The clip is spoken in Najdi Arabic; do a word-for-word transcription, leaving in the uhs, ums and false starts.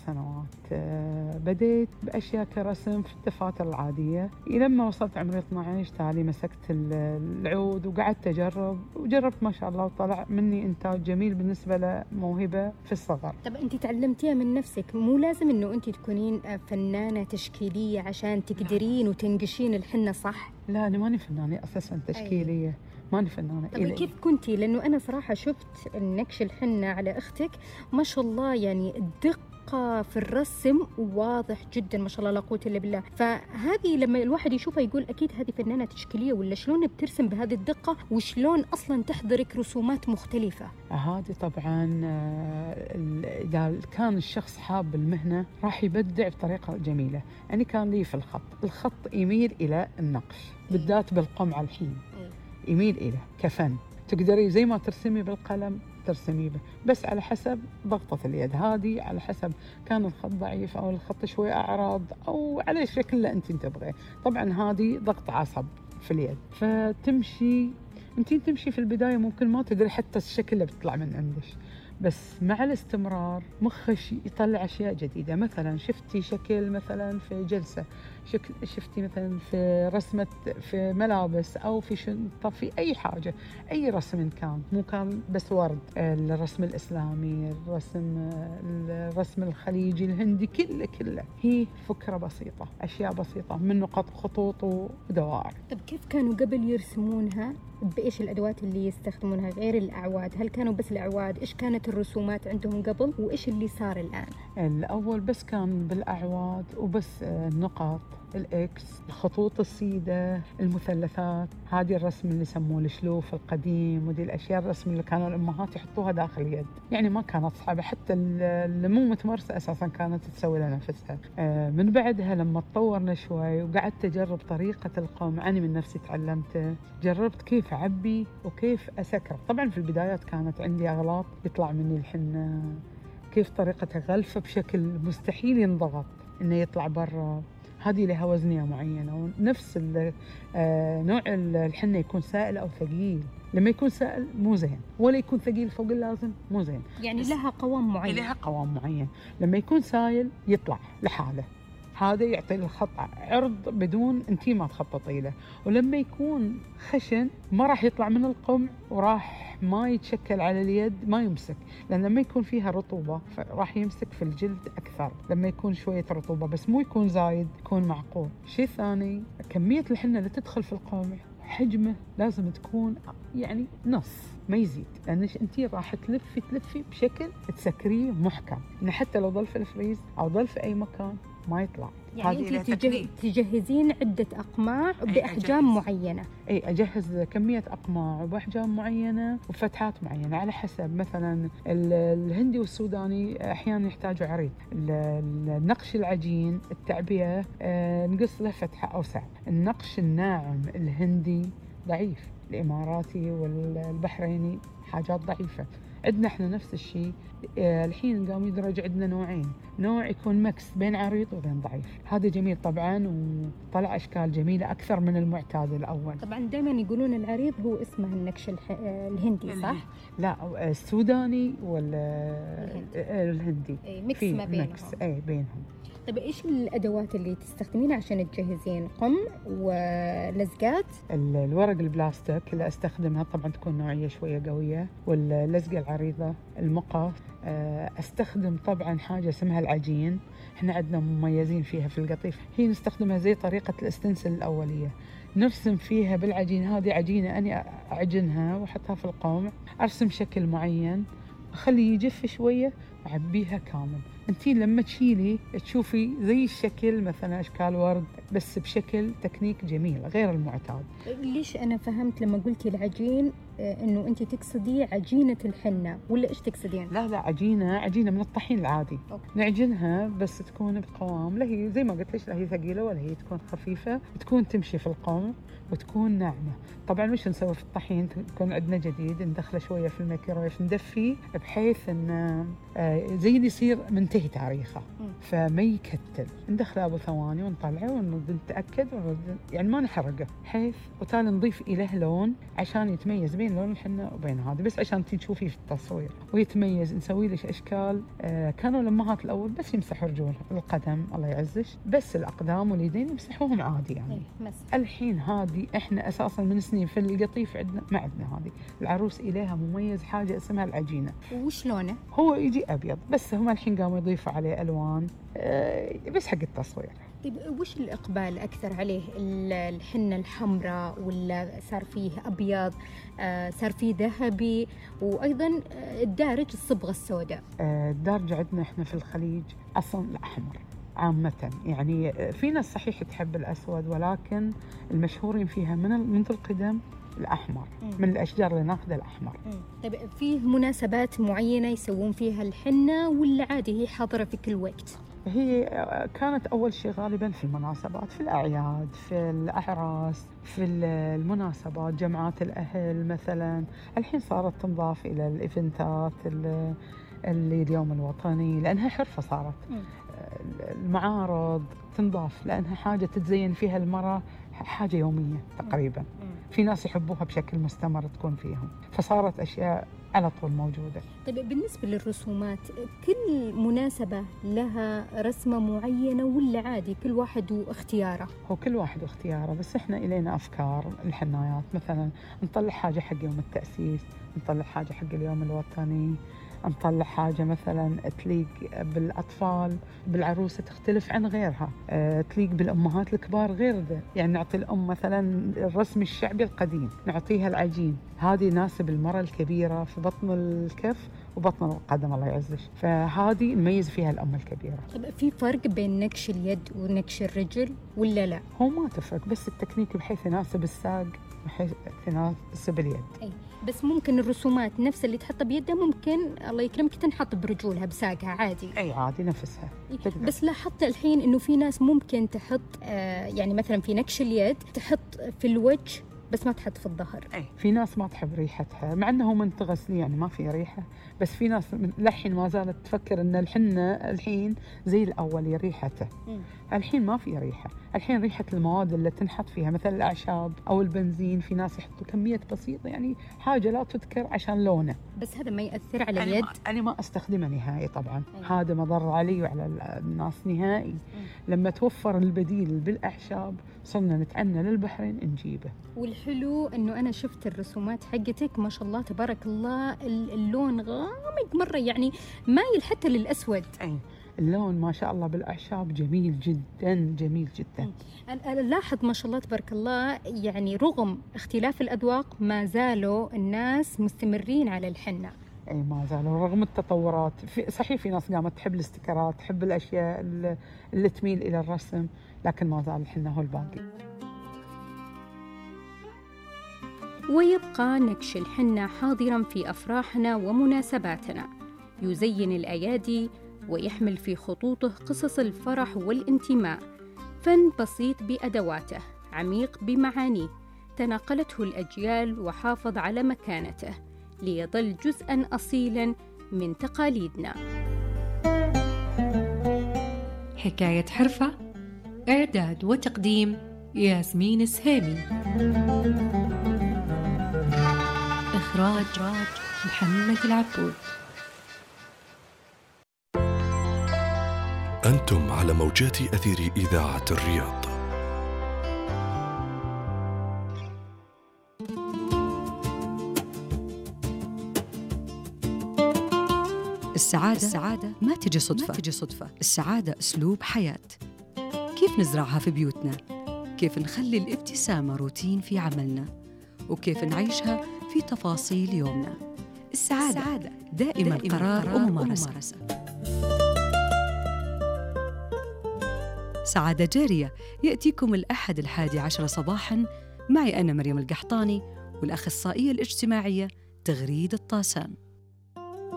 سنوات. بديت بأشياء كرسم في الدفاتر العادية، لما وصلت عمري اثني عشر تالي مسكت العود وقعدت أجرب وجربت ما شاء الله، وطلع مني إنتاج جميل بالنسبة لموهبة في الصغر. طب أنت تعلمتيها من نفسك؟ مو لازم إنه أنت تكونين فنانة تشكيلية عشان تقدرين وتنقشين الحنة صح؟ لا أنا ماني فنانة أساساً تشكيلية. أي. ماني فنانة. طب كيف كنتي؟ لأنه أنا صراحة شفت النقش الحنة على أختك ما شاء الله، يعني الدقة في الرسم واضح جدا ما شاء الله لا قوة إلا بالله. فهذه لما الواحد يشوفها يقول أكيد هذه فنانة تشكيلية، ولا شلون بترسم بهذه الدقة وشلون أصلا تحضرك رسومات مختلفة؟ هذه طبعا إذا كان الشخص حاب المهنة راح يبدع بطريقة جميلة. يعني كان لي في الخط الخط يميل إلى النقش بالذات بالقمع الحين، يميل إليه كفن. تقدري زي ما ترسمي بالقلم ترسمي به، بس على حسب ضغطة اليد. هذه على حسب كان الخط ضعيف أو الخط شوي أعرض أو على الشكل اللي أنت تبغيه. طبعا هذه ضغط عصب في اليد، فتمشي أنت تمشي في البداية ممكن ما تدري حتى الشكل اللي بتطلع من عندك، بس مع الاستمرار مخش يطلع أشياء جديدة. مثلا شفتي شكل مثلا في جلسة، شكل شفتي مثلا في رسمة في ملابس أو في شنطة في أي حاجة، أي رسم كان، مو كان بس ورد، الرسم الإسلامي، الرسم الرسم الخليجي الهندي، كله كله هي فكرة بسيطة، أشياء بسيطة من نقط خطوط ودوائر. طب كيف كانوا قبل يرسمونها؟ بإيش الأدوات اللي يستخدمونها غير الأعواد؟ هل كانوا بس الأعواد؟ إيش كانت الرسومات عندهم قبل وإيش اللي صار الآن؟ الأول بس كان بالأعواد وبس، النقط، الإكس، الخطوط السيدة، المثلثات، هذه الرسم اللي يسموه الشلوف القديم، ودي الأشياء الرسم اللي كانوا الأمهات يحطوها داخل اليد. يعني ما كانت صعبة، حتى اللي مو متمرسة أساساً كانت تسوي لها نفسها. من بعدها لما تطورنا شوي وقعدت أجرب طريقة القمع، أنا من نفسي تعلمت، جربت كيف أعبي وكيف أسكر. طبعاً في البدايات كانت عندي أغلاط، يطلع مني الحنة كيف طريقة غلفة بشكل مستحيل ينضغط إنه يطلع برا. هذه لها وزنية معينة، ونفس نوع الحنة يكون سائل أو ثقيل. لما يكون سائل مو زين، ولا يكون ثقيل فوق اللازم مو زين. يعني لها قوام معين. لها قوام معين. لما يكون سائل يطلع لحاله، هذا يعطي الخط عرض بدون انتي ما تخططي له. ولما يكون خشن ما راح يطلع من القمع وراح ما يتشكل على اليد، ما يمسك، لأن لما يكون فيها رطوبة راح يمسك في الجلد أكثر. لما يكون شوية رطوبة بس مو يكون زايد، يكون معقول. شيء ثاني، كمية الحنة اللي تدخل في القمع حجمه لازم تكون يعني نص ما يزيد، لأنش أنتي راح تلفي تلفي بشكل تسكريه محكم، إن حتى لو ضل في الفريز أو ضل في أي مكان ما يطلع. يعني أنت تجه... تجهزين عدة أقماع بأحجام معينة؟ أي أجهز كمية أقماع بأحجام معينة وفتحات معينة على حسب. مثلا الهندي والسوداني أحيانا يحتاجوا عريض، النقش العجين التعبئة آه نقص له فتحة أوسع. النقش الناعم الهندي ضعيف، الإماراتي والبحريني حاجات ضعيفة. عندنا احنا نفس الشيء. اه الحين قام يدرج عندنا نوعين، نوع يكون مكس بين عريض وبين ضعيف، هذا جميل طبعا وطلع اشكال جميلة اكثر من المعتاد الاول. طبعا دائما يقولون العريض هو اسمه النقش الح... الهندي صح؟ لا السوداني ولا الهندي اي مكس ما بينهم. مكس اي بينهم. طيب إيش الأدوات اللي تستخدمينها عشان تجهزين؟ قم ولزقات؟ الورق البلاستيك اللي أستخدمها طبعا تكون نوعية شوية قوية، واللزقة العريضة، المقص. أستخدم طبعا حاجة اسمها العجين، إحنا عندنا مميزين فيها في القطيف، هي نستخدمها زي طريقة الاستنسل الأولية، نرسم فيها بالعجين. هذه عجينة أنا أعجنها وأحطها في القمع، أرسم شكل معين، أخليه يجف شوية وعبيها كامل. انتي لما تشيلي تشوفي زي الشكل مثلا اشكال ورد بس بشكل تكنيك جميل غير المعتاد. ليش انا فهمت لما قلتي العجين انه انتي تقصدي عجينة الحنة ولا ايش تقصدين؟ لا لا عجينة عجينة من الطحين العادي. أوكي. نعجنها بس تكون بقوام، لا هي زي ما قلت ليش لا هي ثقيلة ولا هي تكون خفيفة، تكون تمشي في القمع وتكون ناعمة. طبعا مش نسوي في الطحين، تكون عندنا جديد ندخله شوية في الميكرويف ندفيه بحيث ان زي اللي يصير من ينتهي تاريخه، فما يكتل، ندخله أبو ثواني ونطلعه ونتأكد ونرد، يعني ما نحرقه، حيث وتالي نضيف إليه لون عشان يتميز بين لون الحنة وبين هذا، بس عشان تشوفيه في التصوير ويتميز. نسوي له أشكال. آه كانوا الأمهات الأول بس يمسحوا رجولهم، القدم الله يعزش، بس الأقدام واليدين يمسحوهم عادي يعني. الحين هذه إحنا أساساً من سنين في القطيف عندنا ما عندنا هذه، العروس إليها مميز حاجة اسمها العجينة. وش لونه؟ هو يجي أبيض، بس هم الحين قاموا يضيفوا عليه ألوان آه بس حق التصوير. طيب وش الإقبال أكثر عليه؟ الحنة الحمراء ولا صار فيه أبيض، آه صار فيه ذهبي، وأيضاً الدارج الصبغة السوداء؟ آه الدارج عندنا إحنا في الخليج أصلاً الأحمر عامة، يعني في ناس صحيح تحب الأسود، ولكن المشهورين فيها من منذ القدم الأحمر. مم. من الأشجار اللي ناخذها الأحمر. مم. طيب في مناسبات معينة يسوون فيها الحنة ولا عادي هي حاضرة في كل وقت؟ هي كانت أول شيء غالباً في المناسبات، في الأعياد، في الأعراس، في المناسبات، جمعات الأهل مثلاً. الحين صارت تنضاف إلى الإيفنتات اللي اليوم الوطني، لأنها حرفة صارت. مم. المعارض تنضاف لأنها حاجة تتزين فيها المرأة، حاجة يومية تقريباً. مم. في ناس يحبوها بشكل مستمر تكون فيهم، فصارت أشياء على طول موجودة. طيب بالنسبة للرسومات، كل مناسبة لها رسمة معينة ولا عادي كل واحد واختياره؟ هو كل واحد واختياره، بس إحنا إلينا أفكار الحنايات، مثلا نطلع حاجة حق يوم التأسيس، نطلع حاجة حق اليوم الوطني، نطلع حاجة مثلا تليق بالأطفال، بالعروسة تختلف عن غيرها، أه تليق بالأمهات الكبار غير ذا. يعني نعطي الأم مثلا الرسم الشعبي القديم، نعطيها العجين، هذه يناسب المرأة الكبيرة في بطن الكف وبطن القدم الله يعزش، فهذه نميز فيها الأم الكبيرة. طب في فرق بين نكش اليد ونكش الرجل ولا لا؟ هو ما تفرق، بس التكنيك بحيث يناسب الساق بحيث يناسب اليد. أي. بس ممكن الرسومات نفس اللي تحطها بيدها ممكن الله يكرمك تنحط برجولها بساقها عادي. اي عادي نفسها. تقدر. بس لاحظت الحين انه في ناس ممكن تحط آه يعني مثلا في نكش اليد تحط في الوجه بس ما تحط في الظهر. اي في ناس ما تحب ريحتها، مع انه من تغسلي يعني ما في ريحه، بس في ناس للحين ما زالت تفكر ان الحنه الحين زي الاول ريحته. م. الحين ما في ريحه، الحين ريحه المواد اللي تنحط فيها مثل الاعشاب او البنزين، في ناس يحطوا كميه بسيطه يعني حاجه لا تذكر عشان لونه، بس هذا ما ياثر على اليد. انا ما, أنا ما استخدمه نهائي طبعا. أيه. هذا مضر علي وعلى الناس نهائي. م. لما توفر البديل بالاعشاب صرنا نتعنى للبحرين نجيبه. والحلو انه انا شفت الرسومات حقتك ما شاء الله تبارك الله، اللون غامق مره يعني مايل حتى للاسود. اي اللون ما شاء الله بالاعشاب جميل جدا جميل جدا. انا لاحظ ما شاء الله تبارك الله، يعني رغم اختلاف الاذواق ما زالوا الناس مستمرين على الحنه. اي ما زالوا رغم التطورات. في صحيح في ناس قامت تحب الاستيكرات، تحب الاشياء اللي, اللي تميل الى الرسم، لكن ما زال الحنه هو الباقي. ويبقى نكش الحنة حاضراً في أفراحنا ومناسباتنا، يزين الأيادي ويحمل في خطوطه قصص الفرح والانتماء، فن بسيط بأدواته، عميق بمعانيه، تناقلته الأجيال وحافظ على مكانته ليظل جزءاً أصيلاً من تقاليدنا. حكاية حرفة، إعداد وتقديم ياسمين السهيمي، إخراج محمد العبود. أنتم على موجات أثير إذاعة الرياض. السعادة, السعادة ما تجي صدفة. ما تجي صدفة. السعادة أسلوب حياة. كيف نزرعها في بيوتنا؟ كيف نخلي الابتسامة روتين في عملنا؟ وكيف نعيشها في تفاصيل يومنا؟ السعادة, السعادة دائما, دائماً قرار, قرار وممارسة. وممارسة. سعادة جارية يأتيكم الأحد الحادي عشر صباحاً معي أنا مريم القحطاني والأخصائية الاجتماعية تغريد الطاسان.